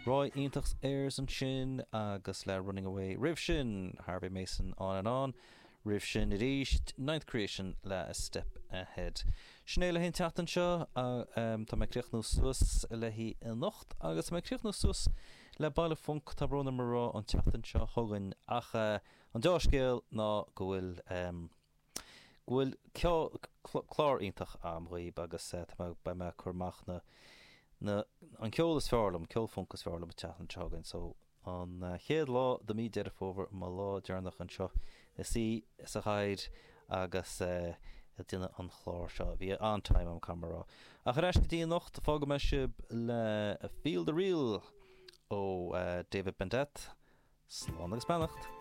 Roy iontach Ayers ansin agus le Running Away. Roimh sin, Harvey Mason On and On. Roimh sin arís, Ninth Creation le A Step Ahead. Sin é le haghaidh an tseachtain seo. Tá mé ag críochnú suas léi anocht agus tá mé ag críochnú suas le Baile Func, tá brón orm a rá, an tseachtain seo chugainn ach an deá-scéal ná go bhfuil go bhfuil clár iontach a'm dhaoib agus tá mé, beidh mé ag cur amach na, na, an ceol is fearr liom, ceol func is fearr liom an tseachtain seo chugainn so an chéad lá de mí Deireadh Fómhair, mo lá deireanach anseo i suí sa chathaoir agus ag déanamh an chláir seo. Bhí an-time a'm caithfidh mé a rá. Ach ar ais go dtí anocht, fágfaidh mé sibh le Feel the Real ó David Bendeth. Slán agus beannacht!